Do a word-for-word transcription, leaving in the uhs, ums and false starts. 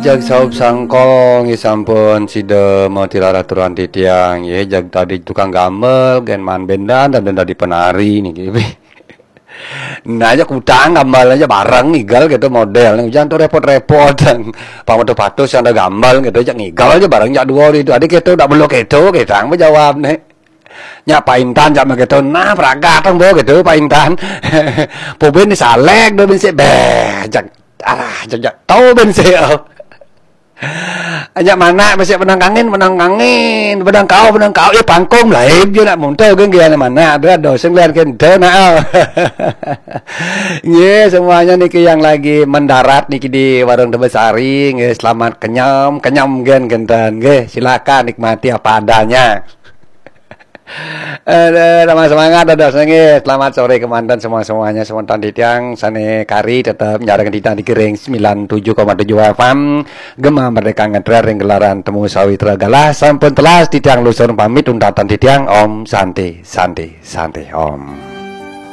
Jag saup sangkong, ya sampun sida matilar aturan titiang, ya jag tadi tukang gambel, gen man bendan, dan dadi penari niki. Nah, aja kutang gambel aja bareng ngigal gitu model. Jangan tuh repot-repot. Pang patuh-patuh sing ada gambel gitu, aja ngigal aja bareng jak dua hari itu. Adik itu dak belok itu, kita jawab nih. Nya Pak Intan jak begitu, nah pragat tang bo gitu Pak Intan. Pobin ni salek do bin sik beh, jak alah jak jak tau bin sik. Ajak mana masih benang kangin, benang kangin, benang kau, benang kau, eh pangkung lah, eh dia nak muntah kan dia mana ada ada sing lihat kan dah nak. Ye, semuanya niki yang lagi mendarat niki di warung Tebesari, nggih selamat kenyam, kenyam gen genten, nggih silakan nikmati apa adanya. Ada sama semangat ada sengi. Selamat sore kemanten semua semuanya semontan titiang sane kari tetap nyareng titiang di Gering sembilan tujuh koma tujuh F M. Gema Merdeka ngetrer ring gelaran temu sawitra galah sampun telas titiang lusur pamit undatan titiang Om Santi Santi Santi Om.